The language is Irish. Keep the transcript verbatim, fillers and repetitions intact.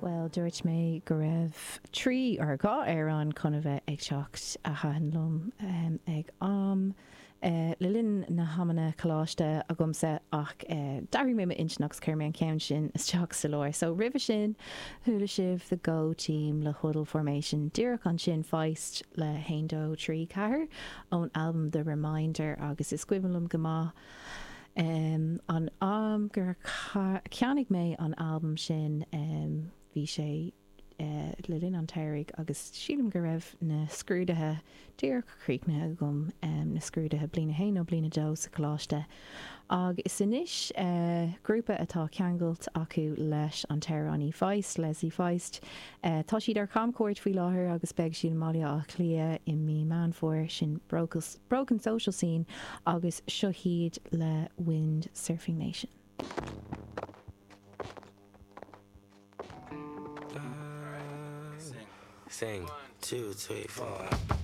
Bhuel, dúirt mé go raibh trí or dhá amhrán chun a bheith ag teacht a thaitin liom ag am le linn na hamanna coláiste agamsa ach d'athraigh mé m'intinn agus chuir mé an ceann sin isteach sa lár. So roimhe sin chuala sibh The Go Team le Huddle Formation díreach ansin Feist le haon dó trí ceathair ón albam The Reminder agus is cuimhin liom go maith um, an am gur cheannaigh mé an albam sin um, bhí sé uh, le linn an tsamhraidh agus sílim go raibh na scrúduithe díreach críochnaithe agam um, na scrúduithe bliain a haon nó bliain a dó sa choláiste. Agus anois uh, grúpa atá ceangailt acu leis an t-amhránaí Feist, Leslie Feist. Uh, tá siad ar camchuairt faoi láthair agus beidh siad i mBaile Átha Cliath i mí Meán Fómhair sin Broken Social Scene agus seo hiad le Wind Surfing Nation. Sing. Sing. Two, three, four.